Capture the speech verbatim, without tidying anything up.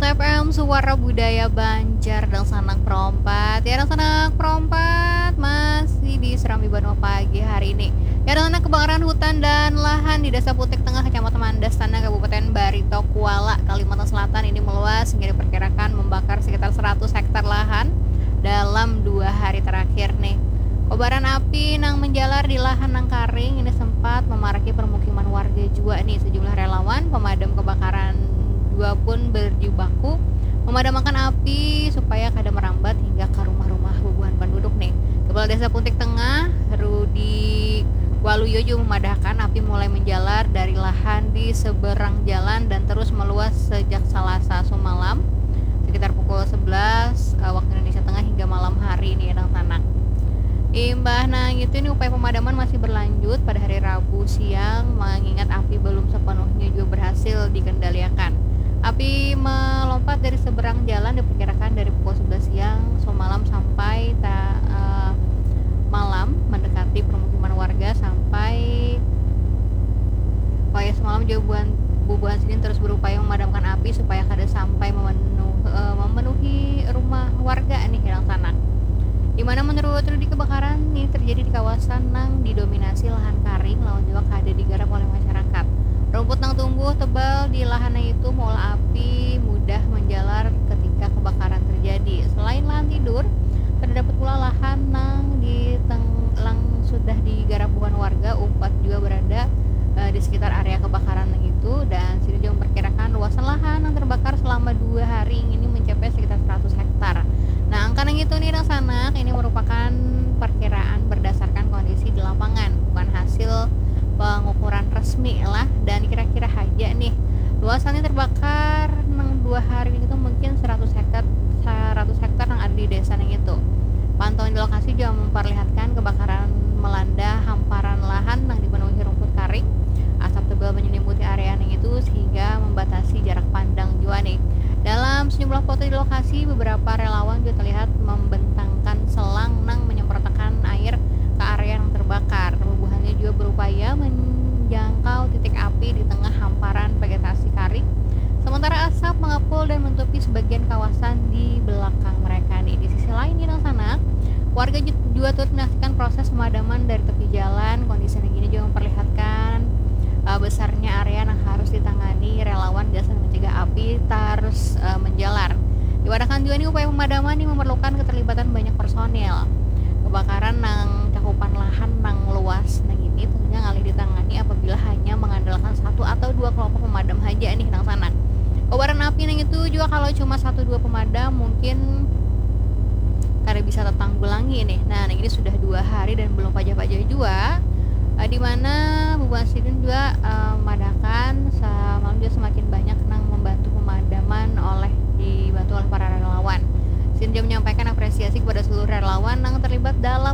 F M Suara Budaya Banjar, dangsanak perompat. Ya, dangsanak perompat masih di Serambi Banua pagi hari ini. Ya, dangsanak, kebakaran hutan dan lahan di Desa Putik Tengah, Kecamatan Mandastana, Kabupaten Barito Kuala, Kalimantan Selatan ini meluas hingga diperkirakan membakar sekitar seratus hektar lahan dalam dua hari terakhir nih. Kobaran api nang menjalar di lahan nang karing ini sempat memaraki permukiman warga jua nih. Sejumlah relawan pemadam kebakaran jua pun berjibaku memadamkan api supaya kada merambat hingga ke rumah-rumah bubuhan penduduk nih. Kepala Desa Puntik Tengah, Rudi Waluyo, juga memadahkan api mulai menjalar dari lahan di seberang jalan dan terus meluas sejak Selasa sumalam sekitar pukul sebelas, eh, waktu Indonesia Tengah hingga malam hari ini, dangsanak. Imbah nang itu, ini upaya pemadaman masih berlanjut pada hari Rabu siang, mengingat api belum sepenuhnya juga berhasil dikendaliakan. Api melompat dari seberang jalan diperkirakan dari pukul sebelas siang semalam sampai ta-, eh, malam mendekati permukiman warga sampai Wayah semalam jua bubuhan, bubuhan sidin terus berupaya memadamkan api supaya kada sampai memenuh-, eh, memenuhi rumah warga nih, dangsanak. Di mana menurut Rudi, kebakaran ini terjadi di kawasan nang didominasi lahan karing lawan jua kada digarap oleh masyarakat. Rumput nang tumbuh tebal di lahan nang itu maulah api mudah menjalar ketika kebakaran terjadi. Selain lahan tidur, terdapat pula lahan nang di teng-, nang sudah digarap buhan warga, umpat jua berada, eh, di sekitar area kebakaran nang itu, dan sidin jua memperkirakan luasan lahan nang terbakar selama dua hari ini mencapai sekitar seratus hektar. Nah, angka nang itu nih, dangsanak, ini merupakan perkiraan berdasarkan kondisi di lapangan, bukan hasil pengukuran resmi lah, dan kira-kira haja nih luasannya terbakar nang dua hari ini tuh mungkin seratus hektar, seratus hektar nang ada di desa nang itu. Pantauan di lokasi juga memperlihatkan kebakaran melanda hamparan lahan nang dipenuhi rumput karing. Asap tebal menyelimuti area nang itu sehingga membatasi jarak pandang jua nih. Dalam sejumlah foto di lokasi, beberapa relawan juga terlihat membentangkan selang nang menyemprotakan air ke area yang terbakar. Bubuhannya juga berupaya menjangkau titik api di tengah hamparan vegetasi karing. Sementara asap mengepul dan menutupi sebagian kawasan di belakang mereka nih. Di sisi lain, nih, dangsanak, warga ju-, juga turut menyaksikan proses pemadaman dari tepi jalan. Kondisi yang gini juga memperlihatkan, eh, besarnya area yang harus ditangani relawan gasan mencegah api terus, eh, menjalar. Diwadakan juga nih, upaya pemadaman ini memerlukan keterlibatan banyak personil. Kebakaran nang cakupan lahan nang luas nang ini tentunya ngalih ditangani apabila hanya mengandalkan satu atau dua kelompok pemadam haja nih, dangsanak. Kobaran api nang itu juga kalau cuma satu dua pemadam mungkin kada bisa tertanggulangi nih. Nah, nang ini sudah dua hari dan belum pajah-pajah jua. Eh, di mana bubuhan sidin juga, eh, madakan semalam juga semakin banyak nang membantu pemadaman oleh, dibantu oleh para relawan. Sidin juga menyampaikan apresiasi kepada seluruh relawan nang terlibat dalam